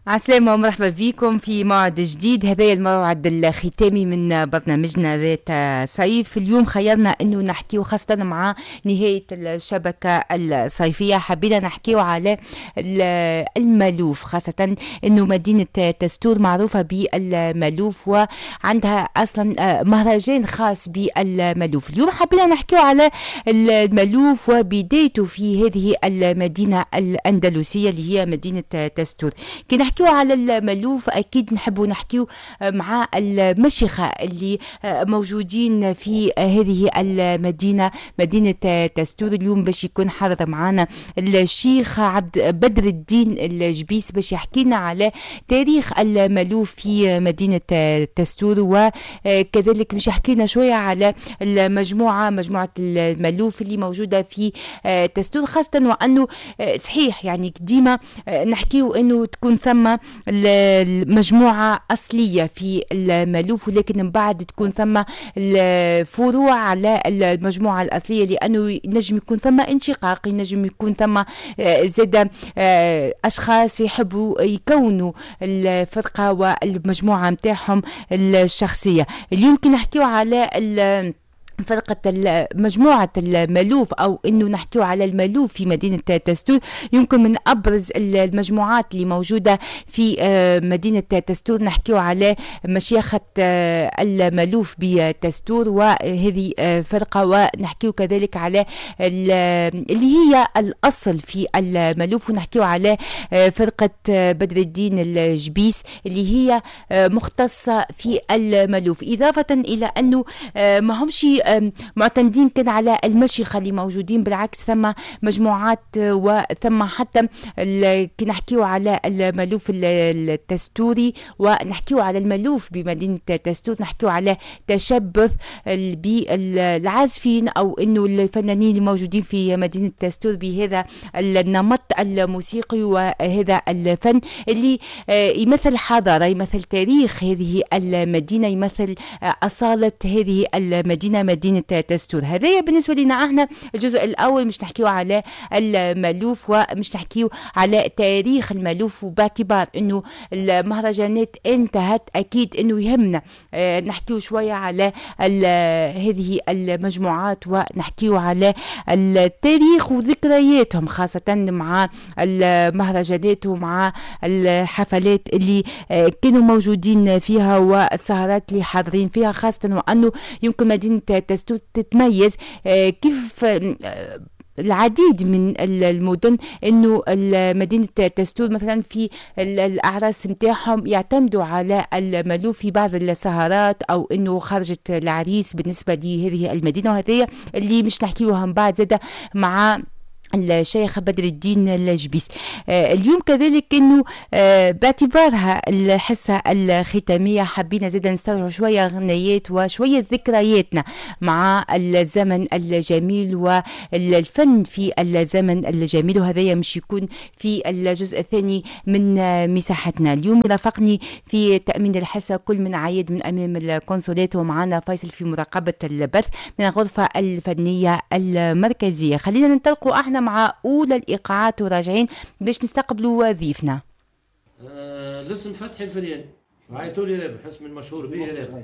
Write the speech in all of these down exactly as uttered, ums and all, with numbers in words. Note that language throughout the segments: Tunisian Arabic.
عسلامة ومرحبا بكم في موعد جديد، هذا الموعد الختامي من برنامجنا ذات صيف. اليوم خيرنا انه نحكيو خاصة مع نهاية الشبكة الصيفية، حبينا نحكيو على المالوف، خاصة انه مدينة تستور معروفة بالمالوف وعندها اصلا مهرجان خاص بالمالوف. اليوم حبينا نحكيو على المالوف وبدايته في هذه المدينة الأندلسية اللي هي مدينة تستور. كي نحكيو على المالوف اكيد نحبوا نحكيو مع المشيخه اللي موجودين في هذه المدينة، مدينة تستور. اليوم باش يكون حاضر معنا الشيخ عبد بدر الدين الجبيس باش يحكي لنا على تاريخ المالوف في مدينة تستور، وكذلك باش يحكي لنا شوية على المجموعة، مجموعة المالوف اللي موجودة في تستور، خاصة وانه صحيح يعني ديما نحكيو انه تكون ثم المجموعة أصلية في المالوف، ولكن من بعد تكون ثم الفروع على المجموعة الأصلية، لأنه ينجم يكون ثم انشقاق، ينجم يكون ثم زاد أشخاص يحبوا يكونوا الفرقة والمجموعة متاعهم الشخصية. اليوم كي نحكيو على فرقة مجموعة المالوف أو أنه نحكيو على المالوف في مدينة تستور، يمكن من أبرز المجموعات اللي موجودة في مدينة تستور نحكيو على مشيخة المالوف بتستور، وهذه فرقة. ونحكيو كذلك على اللي هي الأصل في المالوف، ونحكيو على فرقة بدر الدين الجبيس اللي هي مختصة في المالوف، إضافة إلى أنه ما همش معتمدين كان على المشيخة اللي موجودين، بالعكس ثم مجموعات، وثم حتى كي نحكيو على المالوف التستوري ونحكيو على المالوف بمدينة تستور، نحكيو على تشبث بالعازفين أو إنه الفنانين الموجودين في مدينة تستور بهذا النمط الموسيقي وهذا الفن اللي يمثل حضارة، يمثل تاريخ هذه المدينة، يمثل أصالة هذه المدينة، مدينة تستور. هذايا بالنسبة لنا احنا الجزء الأول، مش نحكيو على المالوف ومش نحكيو على تاريخ المالوف، وباعتبار انه المهرجانات انتهت اكيد انه يهمنا اه نحكيو شوية على هذه المجموعات ونحكيو على التاريخ وذكرياتهم، خاصة مع المهرجانات ومع الحفلات اللي اه كانوا موجودين فيها والسهرات اللي حاضرين فيها، خاصة وانه يمكن مدينة تستور تتميز كيف العديد من المدن انه مدينة تستور مثلا في الاعراس نتاعهم يعتمدوا على المالوف في بعض السهرات، او انه خرجت العريس بالنسبة لهذه المدينة، وهذه اللي مش نحكيوها من بعد زاده مع الشيخ بدر الدين الجبيس. اليوم كذلك انه باعتبارها الحصة الختامية حبينا زادا نسترجع شوية غنيات وشوية ذكرياتنا مع الزمن الجميل والفن في الزمن الجميل، وهذا مش يكون في الجزء الثاني من مساحتنا. اليوم رافقني في تامين الحصة كل من عايد من امام الكونسولات، ومعنا فيصل في مراقبة البث من الغرفة الفنية المركزية. خلينا ننطلقوا احنا مع أولى الإيقاعات وراجعين باش نستقبلوا ضيفنا. آه، الاسم فتحي الفرياني، عيطوا لي رابح، اسم المشهور به رابح،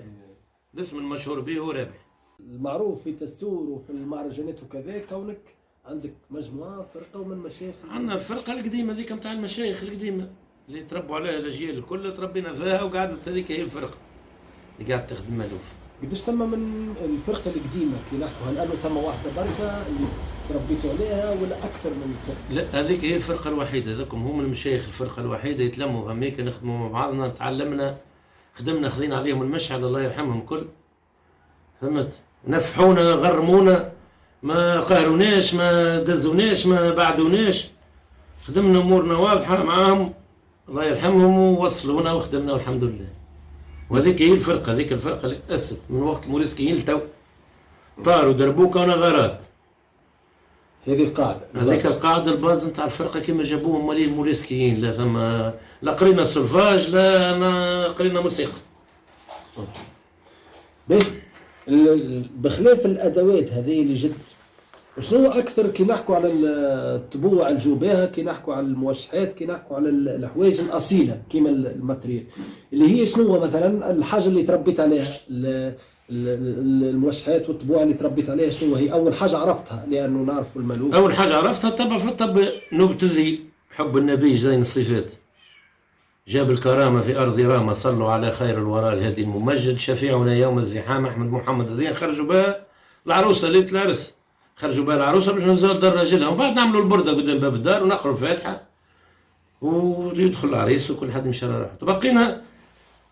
الاسم المشهور به هو رابح. المعروف في تستور وفي المهرجانات وكذا كونك عندك مجموعة فرقة ومن مشايخ. عندنا الفرقة القديمة ذيك نتاع المشايخ القديمة اللي تربوا عليها الأجيال الكل، تربينا فيها وقعدت هذيك هي الفرقة اللي قاعدة تخدم مالوف. قداش ثم من الفرقة القديمة كي نحكوا، هل أنه ثم واحدة بركة اللي تربيتوا عليها ولا أكثر من فرقة؟ لا، هذيك هي الفرقة الوحيدة، هذوكم هم المشايخ الفرقة الوحيدة، يتلموا هميك نخدموا مع بعضنا، تعلمنا خدمنا، خذينا عليهم المشعل الله يرحمهم كل، فهمت؟ نفحونا غرمونا، ما قهروناش، ما دزوناش، ما بعدوناش، خدمنا أمورنا واضحة معاهم الله يرحمهم، ووصلونا وخدمنا والحمد لله. وهذيك هي الفرقة، هذيك الفرقة اللي تأسست من وقت الموريسكيين لتو، طاروا دربوكه ونغارات. هذه القاعدة، هذيك القاعدة ال base نتاع الفرقة كما جابوهم مالين الموريسكيين، لا ثم لا قرينا سولفاج لا قرينا موسيقى. باهي، بخلاف الأدوات هذه اللي جت وشنو اكثر كي نحكوا على الطبوع الجوباها، كي نحكوا على الموشحات، كي نحكوا على الحوايج الاصيلة كيما ال matériel اللي هي شنو مثلا الحاجة اللي تربيت عليها، الموشحات والطبوع اللي تربيت عليها، شنو هي اول حاجة عرفتها؟ لانه نعرفوا المالوف. اول حاجة عرفتها طبعا في الطب نوبه الذيل، حب النبي زين الصفات، جاب الكرامة في ارض رامه، صلوا على خير الورى الهادي الممجد، شفيعنا يوم الزحام احمد محمد الدين. خرجوا بها العروسة ليلة العرس، خرجوا بها العروسة باش نزلوا دار راجلها، ومن بعد نعملوا البرده قدام باب الدار ونقروا الفاتحة ويدخل العريس وكل حد يمشي على روحه. تبقينا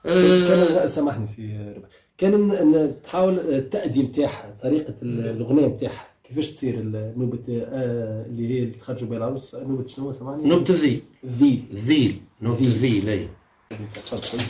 آه سامحني سي ربح، كان تحاول التأدية نتاعها، طريقة الأغنية نتاعها كيفاش تصير نوبة آه اللي هي اللي تخرجوا بها العروس، نوبة شنو سامحني؟ نوبة الذيل. الذيل. الذيل، نوبة الذيل. اي تفضل.